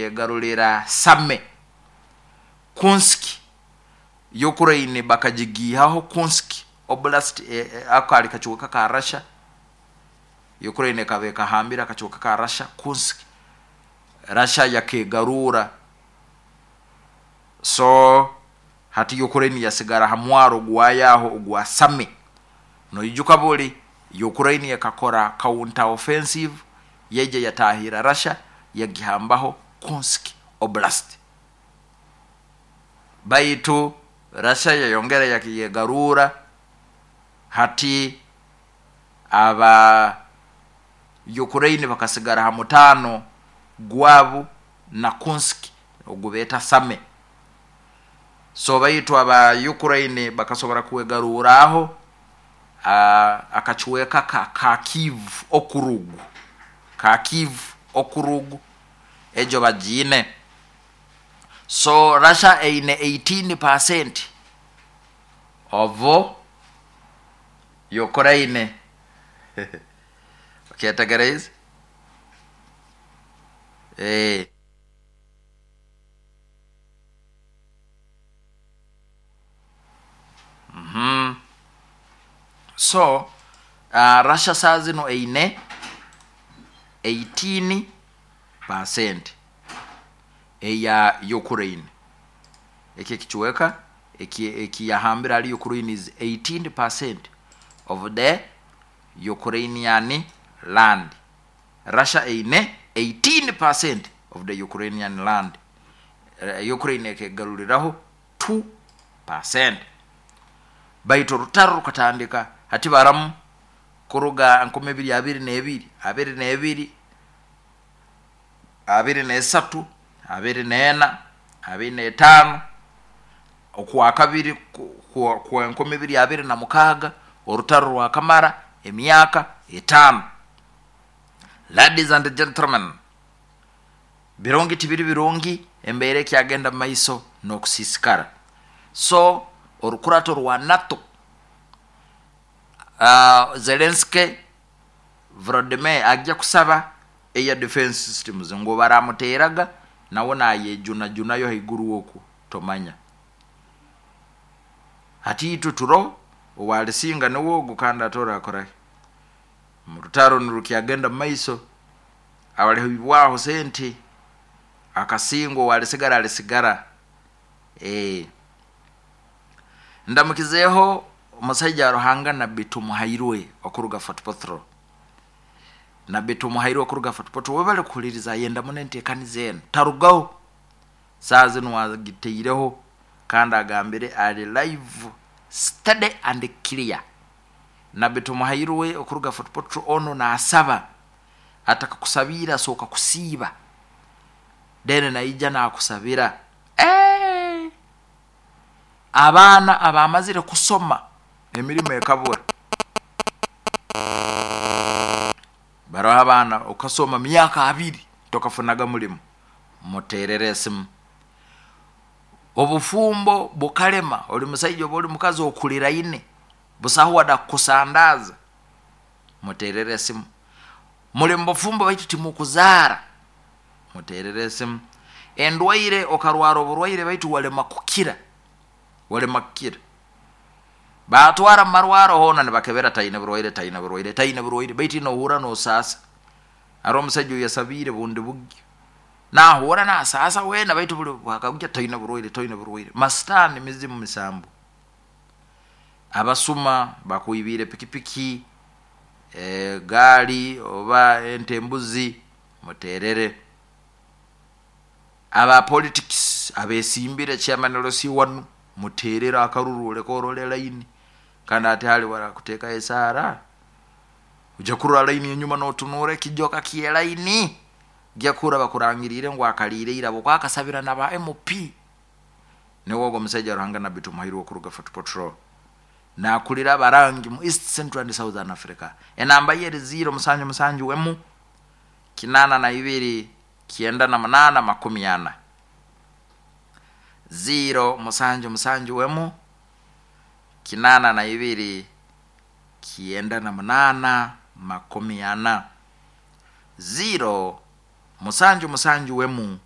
yegarulira Same. Kunski Ukraine bakagigiihaho. Kunsk Oblast, ako kaali kacweka ka Russia. Ukraine ekaba ekahambire akacweka ka Russia, Kunsk. Russia yakegarura. So hati Ukraine yasigara ha mwaro gwayo aho ogwa Same. Noijuka buli Ukraine ekakora counter offensive, yaija yatahira Russia, yagihambaho Kunsk Oblast. Baitu Russia yayongera yegarura. Hati aba Ukraine bakasigara ha mutaano gwabu na Kunsk ogu beeta Same. So baitu aba Ukraine bakasobora kwegaruraho akacweka ka Kharkiv Okrug. Kharkiv Okrug egyo bagiine. So Russia eine 18% of Ukraine. Okyetegereize? Eh. So Russia saa zinu eine 18% eya Ukraine. Eki ekicweka ekiyahambire hali Ukraine is 18% of the Ukrainian land. Russia eine 18% of the Ukrainian land. Ukraine ekegaruliraho 2%. Baitu orutaro rukatandika hati baramu kuruga 2022, 22, 23, 24, 25, okwakabiri kwa 2026. Orutaro rwakamara emyaka 5. Ladies and gentlemen, birungi tibiri birungi, embeera ekyagenda mu maiso n'okusiisikara. So orukurato rwa NATO, Zelensky Volodymyr ajja kusaba air defense systems ngu baramuteeraga nawe nayejunajunayo haiguru oku tomanya. Hati itwe turoho, owalisinga niwe ogu, kandi ate orakorahi? Mu rutaro nirukyagenda mu maiso, abalihibwaho sente akasingwa, owalisigara alisigara. Ndamukizeeho omusaija wa Ruhanga Nabbi Tumuhairwe okuruga Fort Portal. Nabbi Tumuhairwe okuruga Fort Portal, webale kuhuliriza, ayenda muno enteekaniza enu, tarugaho. Saaha zinu agitaireho kandi agambire ali live, steady and clear. Nabbi Tumuhairwe okuruga Fort Portal ono naasaba, atakakusabiire asooka kusiiba, then naija nakusabira. Eh! Abaana abamazire kusoma emirimo ekabura. Baroho abaana okasoma myaka 20 tokafunaga mulimo, muterere esimu. Obufumbo bukalema, oli musaija oba oli mukazi okuliraine, busaho wada kukusandaza, muterere esimu. Muli mubufumbo baitu timukuzaara, muterere esimu. Endwaire, okarwara oburwaire baitu walema kukira, walema kukira. Batwara mu marwaro hoona nibakebera taine burwaire, taine burwaire, taine burwaire, baitu nohurra nosaasa. Haroho omusaija oyasabiire bundi bugyo, nahuura nasaasa weena, baitu buli bwakagukya taine burwaire, taine burwaire. Masitaani, mizimu, misambu. Abasuma bakwibiire pikipiki, gaali oba ente, embuzi, muterere. Aba politics abesimbire chairman LC wanu, muterere akaruru oleke orole line. Kandi ati hali barakutekaho esaara, ojya kurora line enyuma notunura ekijoka ky'elaini, ojya kuhurra bakurangiriire ngu akaliire ira habwokuba akasabira na ba MP. Niwe ogu omusaija Ruhanga Nabbi Tumuhairwe okuruga Fort Portal. Nakulira abarangi mu East, Central and Southern Africa. Enamba ye eri 0 7 7 1 82 98 40. 0 7 7 1 82 98 40. 0 7 7 1.